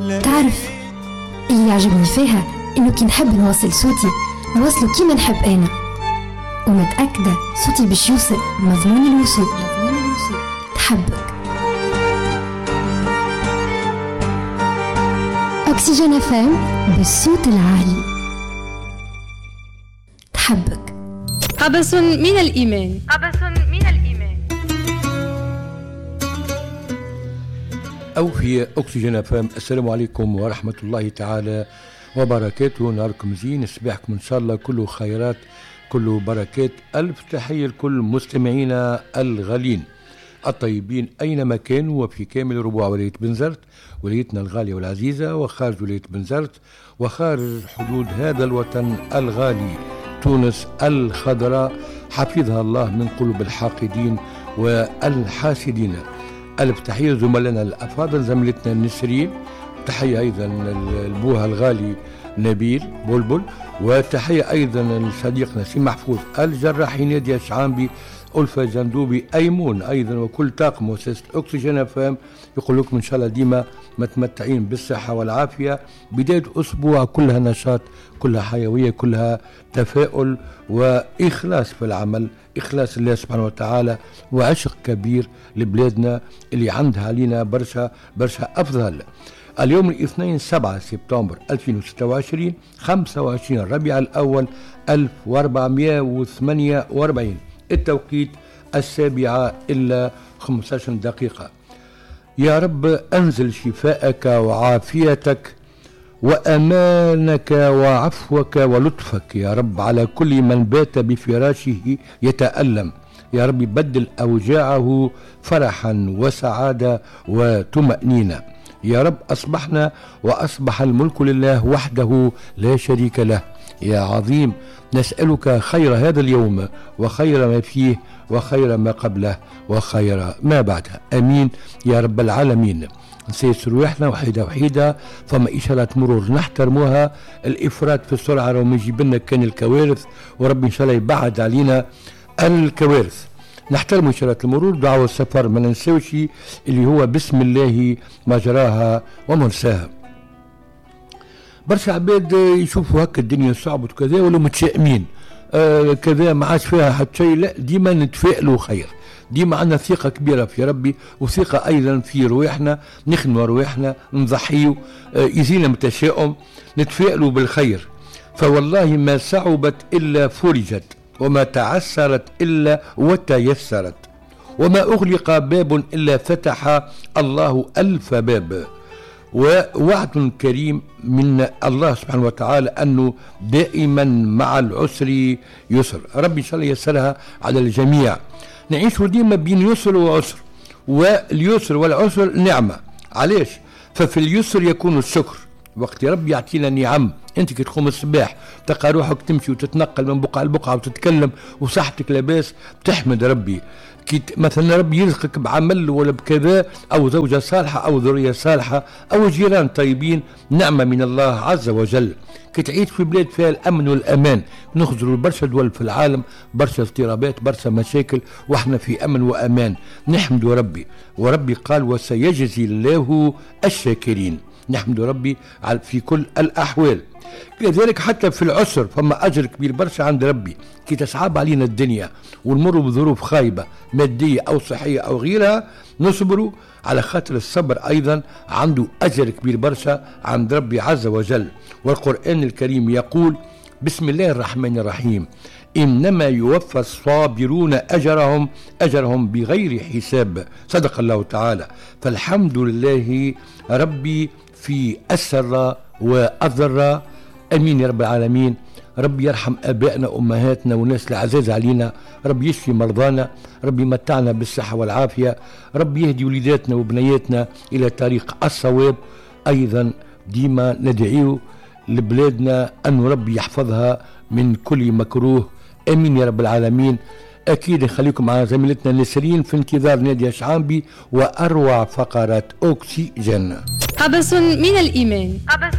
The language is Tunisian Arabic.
تعرف اللي يعجبني فيها انه كي نحب نوصل صوتي نوصله كيما نحب انا، ومتأكدة صوتي باش يوصل مضمون الوصول. تحبك أكسجين FM بالصوت العالي. تحبك. قبس من الإيمان. قبس من الإيمان. أو في أكسجين FM. السلام عليكم ورحمة الله تعالى وبركاته. نهاركم زين، صباحكم إن شاء الله كله خيرات كله بركات. ألف تحية لكل مستمعينا الغالين الطيبين أينما كانوا، وفي كامل ربوع ولاية بنزرت، ولايتنا الغالية والعزيزة، وخارج ولاية بنزرت، وخارج حدود هذا الوطن الغالي تونس الخضراء، حفظها الله من قلوب الحاقدين والحاسدين. ألف تحية زملائنا الأفاضل، زميلتنا نسرين، تحية أيضا البوها الغالي نبيل بلبل، وتحية أيضا لصديقنا سي محفوظ الجراحي، نادية شعامبي، ألفة جندوبي، أيمون أيضا، وكل طاقم مؤسسة أكسجين FM. يقول لكم إن شاء الله ديما متمتعين بالصحة والعافية. بداية أسبوع كلها نشاط، كلها حيوية، كلها تفاؤل وإخلاص في العمل، إخلاص الله سبحانه وتعالى، وعشق كبير لبلادنا اللي عندها علينا برشا برشا أفضل. اليوم الاثنين 7 سبتمبر 2026، 25 ربيع الأول 1448، التوقيت 6:45. يا رب أنزل شفاءك وعافيتك وأمانك وعفوك ولطفك يا رب على كل من بات بفراشه يتألم. يا رب بدل أوجاعه فرحا وسعادة وطمأنينة. يا رب أصبحنا وأصبح الملك لله وحده لا شريك له. يا عظيم نسألك خير هذا اليوم وخير ما فيه وخير ما قبله وخير ما بعده، أمين يا رب العالمين. نسيس رواحنا وحيدة وحيدة، فما إشارات مرور نحترموها، الإفراط في السرعة راهو ما يجيب لنا كان الكوارث، وربي إن شاء الله يبعد علينا الكوارث. نحترم إشارات المرور، دعوة السفر ما ننساوش اللي هو بسم الله مجراها ومرساها. برشا عباد يشوفوا هكا الدنيا صعبة وكذا ولا متشائمين، كذا ما عادش فيها حتى شيء. لا، ديما نتفائلوا خير، ديما عندنا ثقة كبيرة في ربي وثقة أيضا في رواحنا، نخدموا رواحنا، نضحيوا، يزينا من التشاؤم، نتفائلوا بالخير. فوالله ما صعبت إلا فرجت، وما تعسرت إلا وتيسرت، وما أغلق باب إلا فتح الله ألف باب. ووعد كريم من الله سبحانه وتعالى أنه دائما مع العسر يسر. ربي إن شاء الله يسرها على الجميع. نعيش ديما بين يسر وعسر، واليسر والعسر نعمة. علاش؟ ففي اليسر يكون الشكر، وقت ربي يعطينا نعم. انت كي تقوم الصباح تلقى روحك تمشي وتتنقل من بقعة لبقعة وتتكلم وصحتك لاباس، تحمد ربي. كي مثلا ربي يرزقك بعمل ولا بكذا، او زوجة صالحة او ذرية صالحة او جيران طيبين، نعمة من الله عز وجل. كي تعيش في بلاد فيها الامن والامان، نخزروا برشا دول في العالم، برشا اضطرابات، برشا مشاكل، واحنا في امن وامان، نحمد ربي. وربي قال وسيجزي الله الشاكرين. نحمد ربي في كل الأحوال. كذلك حتى في العسر فما أجر كبير برشا عند ربي. كي تصعب علينا الدنيا ونمر بظروف خايبة مادية أو صحية أو غيرها، نصبروا على خاطر الصبر أيضا عنده أجر كبير برشا عند ربي عز وجل. والقرآن الكريم يقول بسم الله الرحمن الرحيم: إنما يوفى الصابرون أجرهم بغير حساب. صدق الله تعالى. فالحمد لله ربي في السراء والضراء، أمين يا رب العالمين. ربي يرحم آبائنا وأمهاتنا والناس العزاز علينا، ربي يشفي مرضانا، ربي يمتعنا بالصحة والعافية، ربي يهدي وليداتنا وبنياتنا إلى طريق الصواب. أيضا ديما ندعيه لبلادنا أن ربي يحفظها من كل مكروه، أمين يا رب العالمين. أكيد نخليكم مع زميلتنا نسرين في انتظار نادية شعامبي وأروع فقرات أكسجين. قبس من الإيمان. قبس